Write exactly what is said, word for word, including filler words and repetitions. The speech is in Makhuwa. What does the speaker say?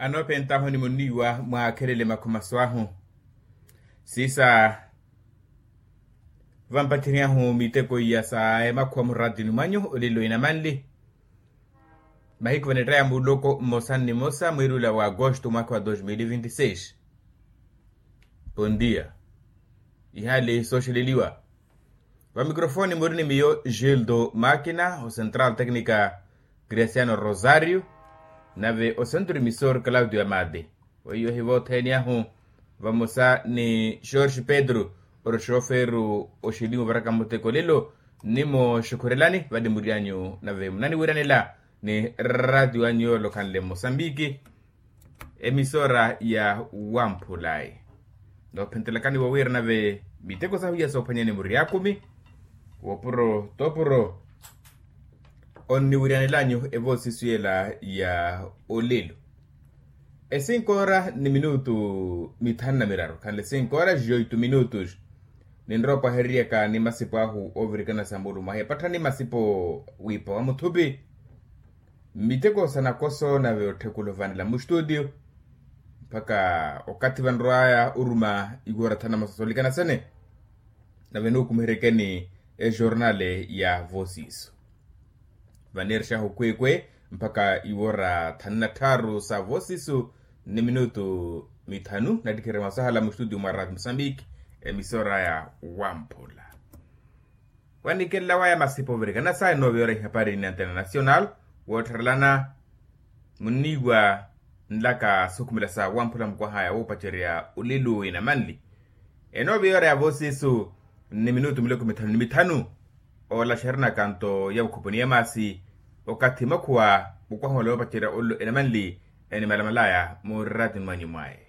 Anoophentahu ni munniiwa mwaakhelele makhumaso ahu. Siisa vampattheryahu miteko iya sa emakhuwa muraatini mwanyu olelo inamanli. Mahiku vanettaya muloko mmosa ni mmosa mwiirula wa agosto mwaakha wa dos mil vinti seis. Pondia. Ihaali sooxeleliwa. Vamikrofoni muri ni miyo gildo makina, ocentral tecnica cristiano rosario, nave ocentro emisor claudio amade. Weiyo hi vothene ahu vamosa ni george pedro, ori oxoferu oxilimu varaka muteko lelo. Nimo xukhurelani vali muri anyu nave munaniwiranela ni ratio anyu yoolokhanle mmosambiki. Emisora ya wamphulayi. Noophentelakani wowiira nave miteko sahu iya soophwanyani muri akumi wopuro topuro. Onniwiryanelanyu evoosisu yela ya olelo. Esinkoora ni minutu mithanu na miraru khanle sinkoora joitu minutus. Ninrowa opwahereryaka ni masipo ahu oovirikana sa mulumo ahi epatthani masipo wiipa wa muthupi. Miteko sa nakoso nave otthekula ovanela mustutio mpakha okathi vanrowaya oruma iwoora thana masosolikana sene. Nave nuukumiheryekeni ejornale ya voosisu. Vaneerexahu kweekwe mpakha iwoora thanu na tthaaru sa voosisu ni minutu mithanu nattikherya mwasahala mustutio mwa rati musambiki. Emisora ya wamphula. Wanikelela waya masipa ovirikana sa enooviya ora ihapari ni antena nacional woottharelana. Munniiwa nlaka sookhumela sa wamphula mukwahaya woopacerya olelo inamanli. Enooviya ora ya voosisu ni minutu miloko mithanu ni mithanu. Oolaxeryanaka nto ya vukhupuni ya maasi okathi makhuwa mukwaha ole woopacerya olelo inamanli enimalamalaya murati mwanyu mwaye.